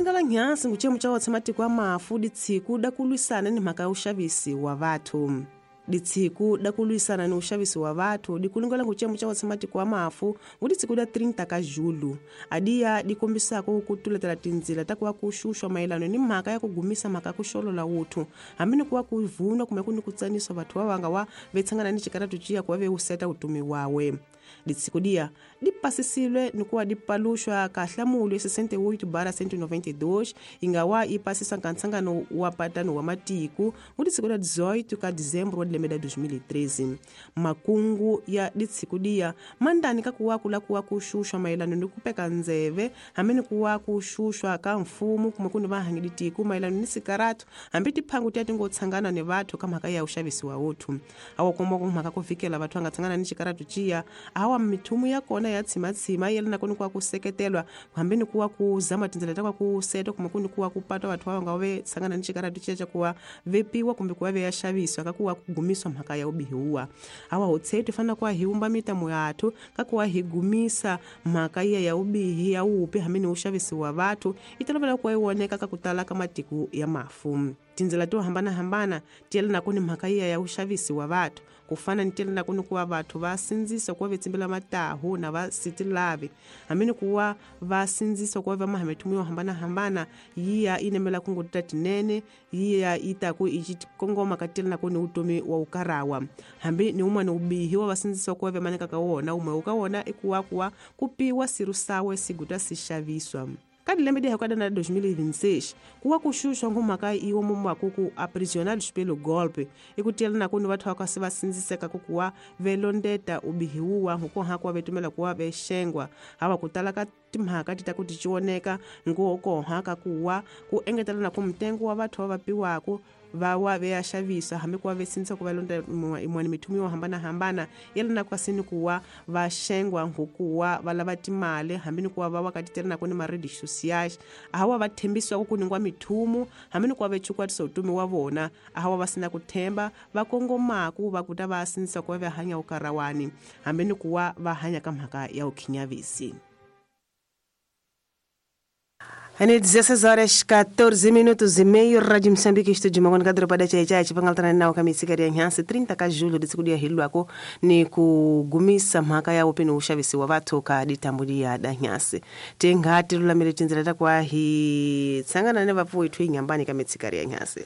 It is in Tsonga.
Dikulingala nhansi nguchemu cha wotse matiko a mafu ditsiku da kulwisana ni mhaka ya uxavisi wa vathu. Ditsiku da kulwisana ni uxavisi wa vathu dikulingala nguchemu cha wotse matiko a mafu ngu ditsiku da 30 ka julho adiya dikombisako ku tuletela tindzila ta kuva ku xuxwa mayelano ni mhaka ya ku gumisa mhaka ya ku xolola wuthu hambi ni kuva ku vunwa kumbe ku ni ku tsaniswa vathu va vanga wa vetshangana ni xikaratu ciya kuva ve wuseta vutomi wawe. Ditsiko dia di pasisiwe ni kuva di paluxwa ka hlamulo 68/192 yi nga wa yi pasisa ka nhlangano wa patano wa matiko ngu ditsiko da 18 ka dizembro wa lembe la 2013. Makungu ya ditsiko dia mandani ka kuwa kula kuwa ku xuxwa mayelano ni ku peka ndzeve hambi ni kuwa ku xuxwa ka mfumo kumbe ku ni vahangi ditiko mayelano ni sikaratu hambi tiphangu tiya ti ngo tshangana ni vathu ka mhaka ya uxavisi wa wuthu. Awa komba ku mhaka ku vikela vathu va nga tshangana ni xikaratu ciya awa mithumu ya kona ya tshimatshima yelana ku ni kuwa ku seketelwa hambi ni kuwa ku zama tindzela ta ku seta kumbe ku ni kuwa ku patwa vathu va nga ve tshangana ni xikaratu ciya xa kuwa vepiwa kumbe kuwa ve ya xaviswa ka kuwa ku gumiswa mhaka ya ubihiwa. Awa hotsetu fanele kuwa hi wumba mitamo yathu ka kuwa hi gumisa mhaka iya ya ubihi ya upi hambi ni uxavisi wa vathu yi tolovela kuwa yi voneka ka ku tala ka matiko ya mafu. Tindzela to hambanahambana ti yelanaka ni mhaka iya ya uxavisi wa vathu ku fana ni ti yelanaka ni kuva vathu va sindzisa kuva ve tsimbela matahu na va sitilavi hambi ni kuva va sindzisa kuva va maha mithumu yo hambanahambana yiya yi nemela ku ngoti ta tinene yiya yi taku yi kongoma ka ti yelanaka ni vutomi wa ukarawa hambi ni wun'wana wubihi wa va sindzisa kuva ve maneka ka wona wumwe wu ka wona i kuva kuva ku piwa sirusawe siguta si xaviswa. Ka lembe di hekada na 2026 kuwa ku xuxwa ngumhaka iwo mumwaku ku aprisionados pelo golpe i ku tiyelana ku ni vathu va kasi va sindziseka ku kuwa ve londeta ubihiwa nkukoha kuwa ve tumela kuwa ve xengwa hawa ku tala ka timhaka ti ta ku ti cioneka nkokoha ka kuwa ku engetelana ku mitengo wa vathu va va piwaku va wa ve ya xavisa hambi ku va ve sindzisa ku va londa yin'wana mithumu yo hambanahambana yelana kasi ni ku wa va xengwa nkukuwa va lava timali hambi ni ku wa va wa ka titelanaka ni ma-redes sociais hawa va tshembisiwaku ku ningwa mithumu hambi ni ku va ve chukwatisa vutomi wa vona hawa va sina ku themba va kongomaku va ku ta va sindzisa ku va va hanya ukarawani hambi ni ku wa va hanya ka mhaka ya ukhinyavisi. Ane 16 horas 14 minutos e meio, Rádio Moçambique, estúdio Mangona kadro pada chai chai chipangaltana nawo kamitsika ya nhansi 30 ka julho ditsikudia hilwako ni kugumisa mhaka ya upi ni uxavisi wa vathu ka ditambulia da nhansi tingati lulamile tindzela ta kwa hi tsangana ne vapfuwi thu inyambani ka mitsika ya nhansi.